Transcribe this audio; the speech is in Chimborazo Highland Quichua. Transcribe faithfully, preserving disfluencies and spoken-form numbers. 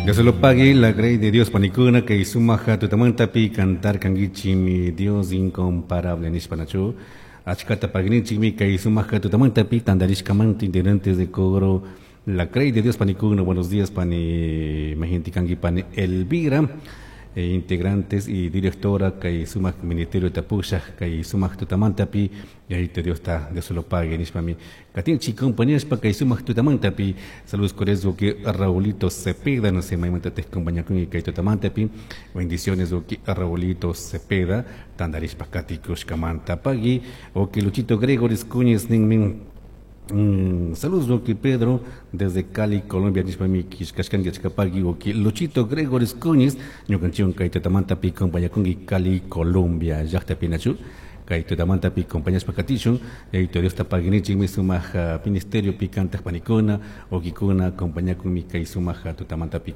Dios lo pague la grey de Dios panikuna kay sumaja tutamantapi cantar kankichi mi Dios incomparable nishpanachu achkata pagninchikmi kay sumaja tutamantapi tandarishkamanta integrantes de coro la grey de Dios panikuna buenos días pani majinti kanki pani Elvira eh, integrantes y directora kay sumak ministerio tapushaj kay sumak tutamantapi yayito Dios ta Dios lo pague nishpami katinchi compañeros kay sumak tutamantapi saludos cordiales que Raulito Cepeda no sé maymanta te acompaña con kay tutamantapi bendiciones que Raulito Cepeda tandarishpa katikushkamanta pagui o que Luchito Gregoris Cuñez ninmin Mm, saludos, Oki Pedro, desde Cali, Colombia, nishpami kishkashkanki achkapaki, Oki Luchito Gregoris Cuñez, ñukanchikwan kay tutamantapi compañakunki Cali, Colombia, llaqtapi nachu, kay tutamantapi compañashpa katishun, yayito Diosta paginichikmi sumaq ministerio pi kantaq panikuna, okikuna compañakunmi kay sumaq tutamantapi